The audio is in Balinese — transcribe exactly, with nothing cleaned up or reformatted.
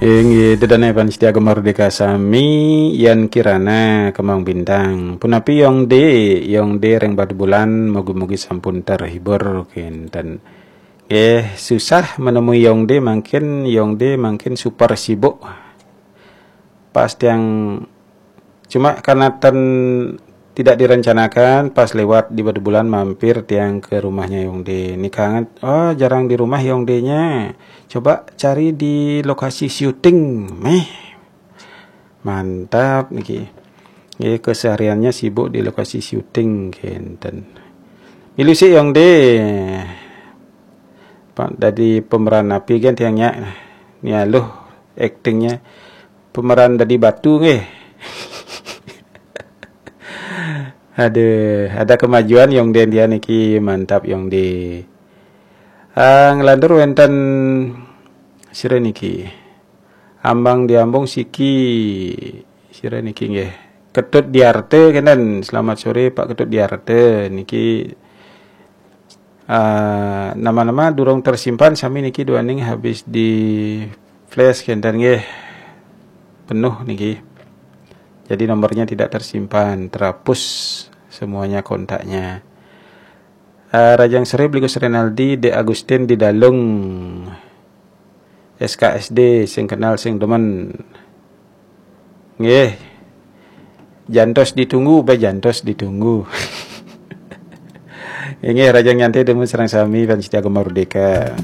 Inggih, ida dané pamiarsa Gema Merdeka sami, Yan Kirana, Kemang Bintang. Punapi Yongde, Yongde ring Batubulan, mugi-mugi sampun terhibur kénten. Nggih, susah menemui Yongde, mangkin Yongde mangkin super sibuk. Pas tiang, cuma karena ten tidak direncanakan, pas lewat di Batubulan mampir tiang ke rumahnya Yongde. Nika, oh, jarang di rumah Yongdenya. Coba cari di lokasi syuting. Méh. Mantap niki. Nggih, kesehariannya sibuk di lokasi syuting kénten. Milu sik Yongde. Pak, dadi pemeran napi gén tiang nyak? Ni aluh aktingnya. Pemeran dadi batu nggih. Aduh, ada kemajuan Yongde dia niki, mantap Yongde. Ah, nglantur wénten sira niki. Ambang Diambung siki, sira niki nggih. Ketut Diarte kénten. Selamat sore Pak Ketut Diarte niki. Ah, nama-nama durung tersimpan sami niki, duaning habis di flash kénten nggih. Penuh niki. Jadi nomornya tidak tersimpan, terhapus semuanya kontaknya. Ah, Rajang Sri, Bligus Renaldi, De Agustin di Dalung. S K S D sing kenal sing demen. Nggih. Jantos ditunggu, bé jantos ditunggu. Inggih, Rajang Nyantai demen sareng sami pamiarsa Gema Merdeka.